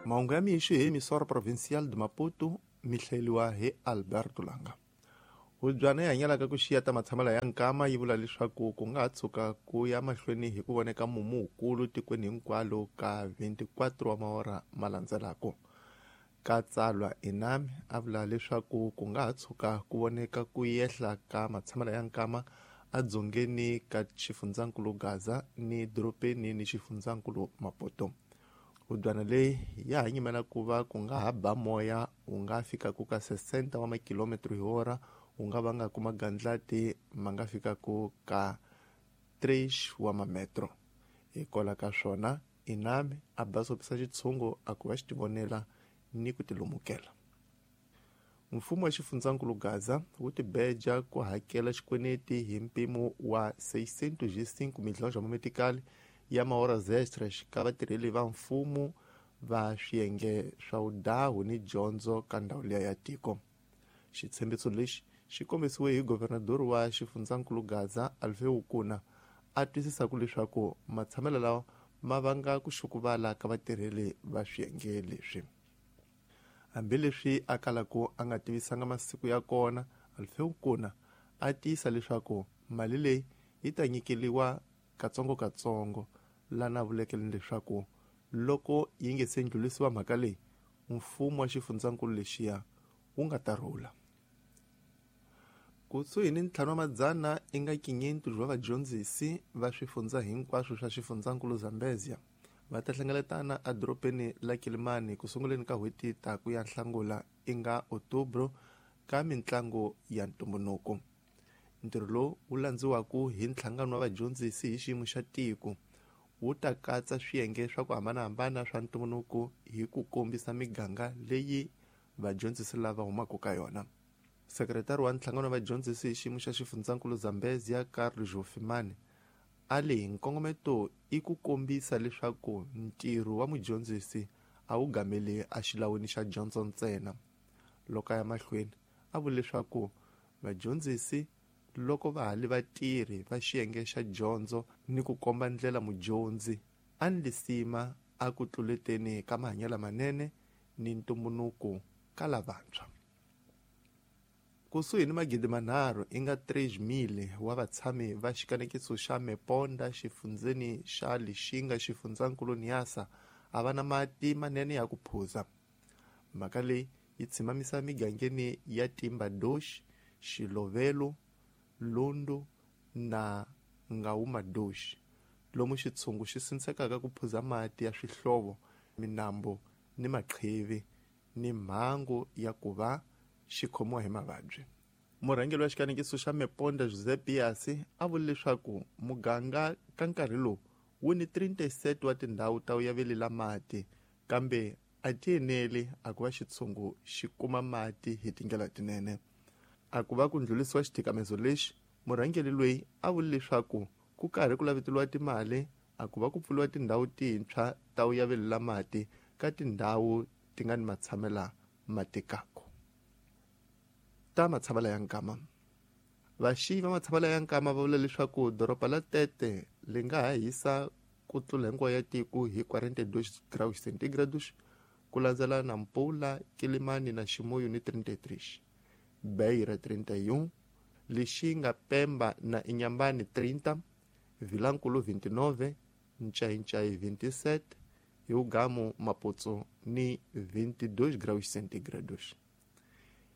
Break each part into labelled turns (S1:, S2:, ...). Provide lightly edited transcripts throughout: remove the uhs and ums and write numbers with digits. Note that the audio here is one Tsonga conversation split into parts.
S1: Mahungu ya mixo hi Emissora Provincial de Maputo mi hlayeliwa hi Alberto Langa. Hubyana yi hanyelaka ku xiya ta matshamelo ya nkama yi vula leswaku ku nga ha tshuka ku ya mahlweni hi ku voneka mumu wukulu tikweni hinkwalo ka 24 wa maora ma landzelaka. Ka tsalwa Inami a vula leswaku ku nga ha tshuka ku voneka ku yehla ka matshamelo ya nkama edzongeni ka xifundzankulu Gaza ni doropeni ni xifundzankulu Maputo. Hubyana leyi ya ha nyimela ku va ku nga ha ba moya wu nga fikaku ka 60 wa makilometro hi hora wu nga vangaku magandlati ma nga fikaku ka 3 wa mametro. Hikwalaho ka swona Inami a basopisa xitshungu a ku va xi tivonela ni ku tilumukela. Mfumo wa xifundzankulu Gaza wu tibeja ku hakela xikweleti hi mpimo wa 605 milhões wa mametikali ya mahoras extras ka vatirheli va mfumo va swiyenge swa vudahu ni dyondzo ka ndhawu liya ya tiko. Xitshembiso lexi xi kombisiwe hi governador wa xifundzankulu Gaza Alfeu Kuna a twisisaku leswaku matshamelo lawa ma vanga ku xukuvala ka vatirheli va swiyenge leswi. Hambileswi a kalaku a nga tivisanga masiku ya kona, Alfeu Kuna a tiyisa leswaku mali leyi yi ta nyikeliwa katsongo-katsongo lana vulekele leswaku loko yi nge se ndlulisiwa mhaka leyi mfumo wa xifundzankulu lexiya wu nga ta rhula. Kusuhi ni 500 i nga 500 wa vadyondzisi va swifundza hinkwaswo swa xifundzankulu Zambezia va ta hlengeletana edorobeni la Kilimani ku sunguleni ka n'hweti ta ku ya Nhlangula i nga Otubro ka mintlangu ya ntumbuluko. Ntirho lowu wu landziwaku hi nhlangano wa vadyondzisi hi xiyimo xa tiko wu ta katsa swiyenge swa ku hambanahambana swa ntumbuluko hi ku kombisa miganga leyi vadyondzisi lava humaka ka yona. Sekretari wa nhlangano wa vadyondzisi hi xiyimo xa xifundzankulu Zambezia Carlos Jofimani a leyi nkongometo i ku kombisa leswaku ntirho wa mudyondzisi a wu gameli exilawini xa dyondzo ntsena. Loko a ya mahlweni a vula leswaku vadyondzisi loko va ha li vatirhi va xiyenge xa dyondzo ni ku komba ndlela mudyondzi a ni lisima a ku tluleteni ka mahanyelo manene ni ntumbuluko ka lavantshwa. Kusuhi ni 3,000 i nga 3,000 wa vatshami va xikanekiso xa Meponda xifundzeni xa Lixinga xifundzankulu Niassa a va na mati manene ya ku phuza. Mhaka leyi yi tshimamisa migangeni ya Timba Dosh, Xilovelo, Lundu na Ngauma Dosh, lomu xitshungu xi sindzekaka ku phuza mati ya swihlovo, minambu ni maqhivi ni mhangu ya ku va xi khomiwa hi mavabyi. Murhangeri wa xikanekiso xa Meponda José Biasi a vula leswaku muganga ka nkarhi lowu wu ni 37 wa tindhawu ta ku yavelela mati kambe a ti eneli a ku va xitshungu xi kuma mati hi tindlela tinene. A ku va ku ndlulisiwa xithikamezo lexi, murhangeri loyi a vula leswaku ku karhi ku laveteliwa timali a ku va ku pfuriwa tindhawu tintshwa ta ku yavelela mati ka tindhawu ti nga ni matshamela ma tikako. Ta matshamela ya nkama. Vaxiyi va matshamela ya nkama va vula leswaku doroba la Tete li nga ha hisa ku tlula hinkwayo ya tiko hi 42 graus centigrados ku landzela Nampula, Kilimani na Chimoio ni 33, Beira 31, Lixinga, Pemba na Inhambane 30, Vilankulu 29, Ncaincaí 27, Hugamu, Maputo ni 22 graus centigrados.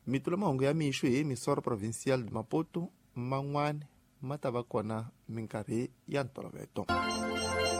S1: Mitula mahungu ya mixo hi Emissora Provincial de Maputo man'wana ma ta va kona minkarhi ya ntolovelo.